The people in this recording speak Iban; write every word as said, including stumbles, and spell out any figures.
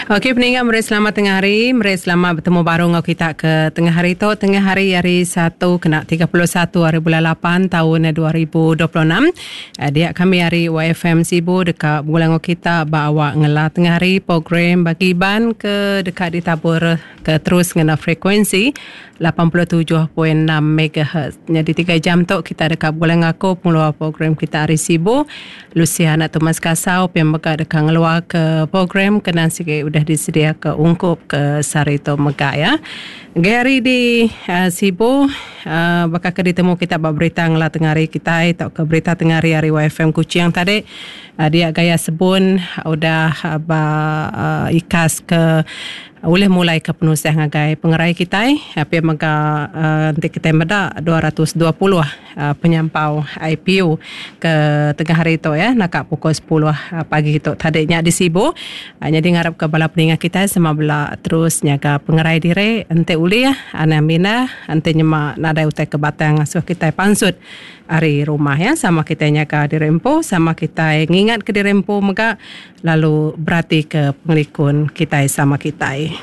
Okey peninga meri selamat tengah hari, meri selamat betemu baru enggau kita ke tengah hari tu, tengah hari hari Satu kena tiga puluh satu hari bulan lapan taun dua ribu dua puluh enam. Dia kami hari Y F M Sibu deka begulai enggau kita ba awak ngela tengah hari program bagi Iban ke deka ditabur ke terus ngena frekuensi lapan puluh tujuh point enam megahertz. Jadi tiga jam tu kita deka begulai enggau aku pengeluar program kita hari Sibu, Luciana Thomas Kasau, pia mega deka ngeluar ke program kena sigi udah disedia ke ungkup ke sehari tu mega ya. Gari di uh, Sibu uh, bakal ke ditemu kita ba berita ngela tengah hari kita atau ke berita tengah hari hari Y F M Kuching tadi uh, dia gaya sebun udah uh, ba uh, ikas ke boleh mulai ke penusah ngagai pengerai kita tapi mega uh, nanti kita meda dua ratus dua puluh uh, penyampau I P U ke tengah hari tu ya nak pukul sepuluh uh, pagi tu tadinya di Sibu. Uh, jadi ngarap ke bala peningat kita sama bela terus nyaga pengerai diri ente ulih ana mina ente nyema nadai utai ke batang asuh kita pansut ari rumah ya sama kita nyaga diri empu sama kita ngingat ke diri empu mega lalu berarti ke pengelikun kita sama kita.